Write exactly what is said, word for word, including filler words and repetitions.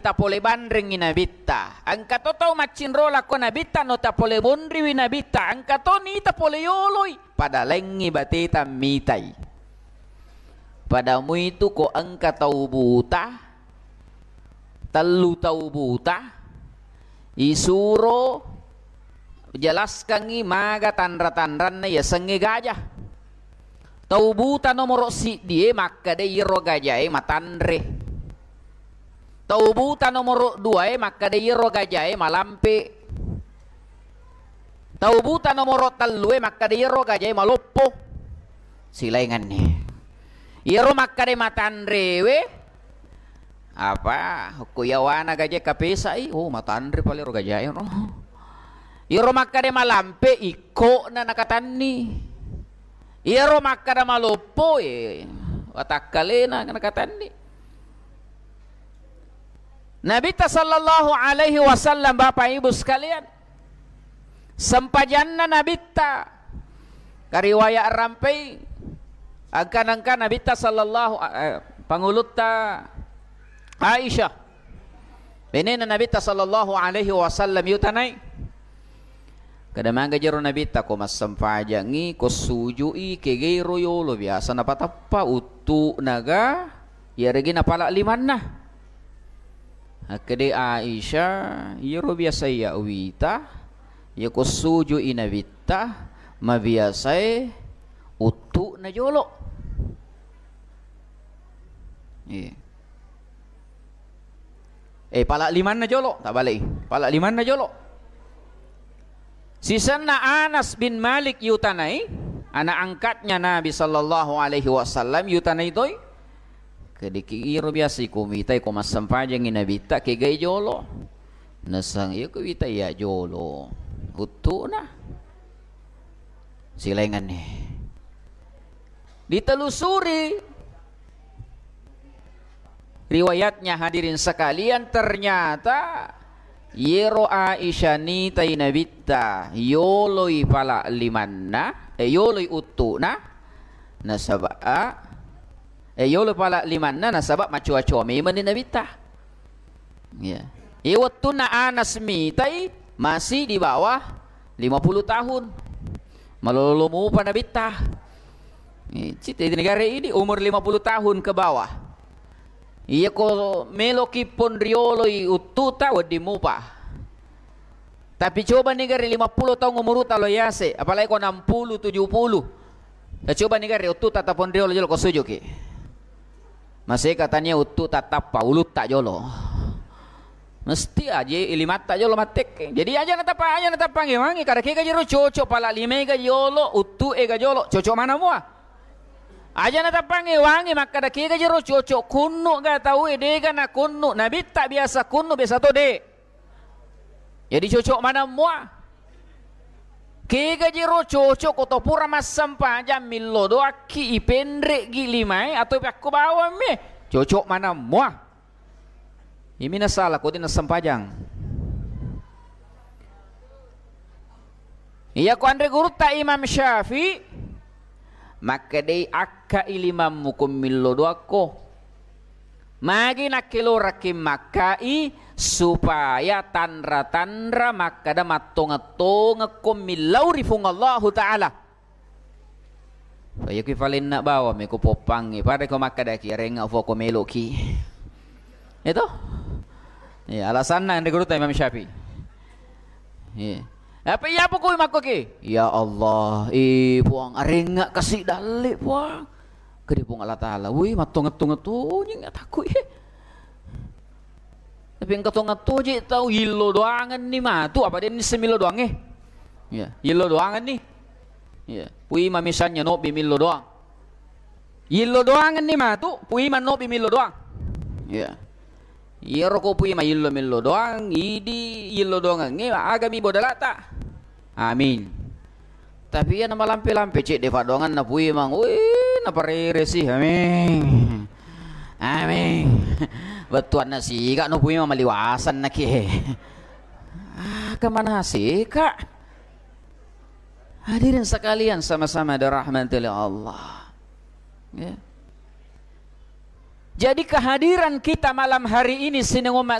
tapole banrengngi nabitta. Engka to tau maccinro lako nabitta, no tapole monriwi nabitta. Engka to nita pole yoloi, pada laingngi bateta mitai. Pada muitu ko engka tau buta, tellu tau buta, isuro jelaskangngi maga tanra-tanranna yasengnge gajah. Tau buta nomoro siddie makkeda iyaro gajae matanre. Tau buta nomoro duae makkeda iyaro gajae malampe. Tau buta nomoro tellue makkeda iyaro gajae maloppo. Silaingenni. Iyaro makkeda matanrewe, apa, okko yawana gajae kapesai, oh, matanre pale ro gajae ro. Iyaro makkeda malampe, ikkona nakatanni. Iyaro makkeda maloppo, eh, watakkalena nakatanni. Nabitta sallallahu alaihi wasallam, Bapak Ibu sekalian, sempajanna Nabitta, kariwaya rampei, engka-, engka Nabitta sallallahu, eh, pangulutta Aisyah, benena Nabitta sallallahu alaihi wasallam yutanai. Kada maga jero Nabitta, ko massempajangngi, ko sujui, kegairo yolo, biasa napatappa uttu naga, iyaregi napala limanna. Akkede Aisyah, iyaro biasa iya uwita, iya ko sujui Nabitta, mabiasae uttu na jolo. Iya. Eh, pala limanna jolo, tak balai. Pala limanna jolo. Sisenna Anas bin Malik yutanai, anak angkatnya Nabi sallallahu alaihi wasallam yutanai toi. Kediki iro biasa iko mitai ko massempajangi Nabitta kegai jolo. Nasang iya ko wita iya jolo. Uttuna. Silainganni. Ditelusuri riwayatnya, hadirin sekalian, ternyata yero Aisyah nitai Nabitta, yoloi pala limanna, eh, yoloi uttuna, nasaba, eh, yoloi pala limanna, nasaba macoa-coa memang ni Nabitta. Ya. Iya wettunna Anas mitai masih di bawah lima puluh tahun. Malolo mupa Nabitta. Eh, cita di negara ini umur lima puluh tahun ke bawah. Iya ko meloki pon rioloi uttuta wedding mupa. Tapi coba ni gare lima puluh tahun umuruta lo yase, apalagi ko enam puluh, tujuh puluh. Ya, coba ni gare uttuta tapon riolo jolo ko sujuki. Maseka tania uttu tattappa ulutta jolo. Mesti aje ilimatta jolo mattekke. Jadi aja natappa, aja natappangi wangi kada kega jero cocok pala limega jolo, uttu ega jolo, cocok mana mua. Aja natappangi wangi makkada kega jero cocok kunnu ga tau e dega na kunnu, Nabitta biasa kunnu biasa to de. Jadi cocok maneng mua. Kega jero cocok ko to pura massempajang millo doakki ipenre'gi limae atau pakko bawang me. Cocok maneng mua. Imi nasala ko dina sempajang. Iya ko anre gurutta Imam Syafi'i makkedai akka ilimammu ko millo doakko. Magi nakkelorakki makkai supaya tanra-tanra makkada mattongeng-tongengko millau ri Fuang Allahu Ta'ala. Fa iya kui falenna bawang me ko poppangnge, pada ko makkadaki arengnga fua ko meloki. Itu? Iya, alasanna anre gurutta Imam Syafi'i. Iya. Apa iya apa kui makkoki? Ya Allah, eh Puang, arengnga kasi dalle Puang. Kedi Puang Allah Ta'ala, wih, mattongeng-tongeng tonyeng atakku, eh. Tapi engka tongattoje tau yillo doangenni matu, apa denni semillo doangnge? Iya, yillo doangenni. Iya, puima misalnya nobbi millo doang. Yillo doangenni matu, puima nobbi millo doang. Iya. Iyaro ko puima yillo millo doang, idi yillo doangengnge agami bodalata. Amin. Tapi iya namalampe-lampe cedde paddoanganna puimang, wih, naparere sih, amin. Amin. Bettuanna siga no puimang maliwasan naki. Ah, kemana sih, Kak? Hadirin sekalian sama-sama dirahmati oleh Allah. Ya. Jadi kehadiran kita malam hari ini sining umma